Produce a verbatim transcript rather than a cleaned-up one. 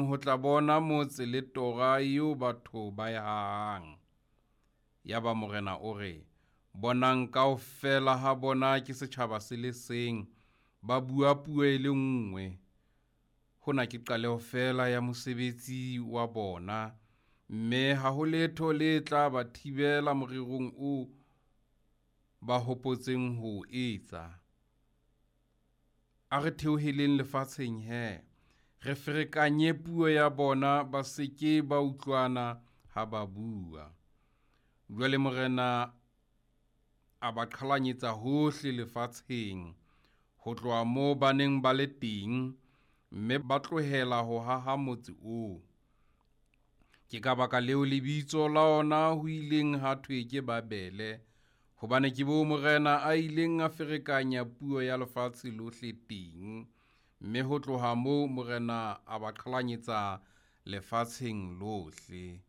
Ho tla bona motse le tora eo batho ba e hahang. Yaba Morena o re, Bonang, kaofela ha bona ke setjhaba se le seng, ba bua puo e le nngwe. Hona ke qaleho feela ya mosebetsi wa bona, mme ha ho letho le tla ba thibela morerong oo ba hopotseng ho o etsa. A re theoheleng lefatsheng he, re ferekanye puo ya bona, ba se ke ba utlwana ha ba bua. Jwale Morena a ba qhalanyetsa hohle lefatsheng, ho tloha moo ba neng ba le teng, mme ba tlohela ho haha motse oo. Ke ka baka leo lebitso la ona ho ileng ha thwe ke Babele, hobane ke moo Morena a ileng a ferekanya puo ya lefatshe lohle teng, mme ho tloha moo Morena a ba qhalanyetsa lefatsheng lohle.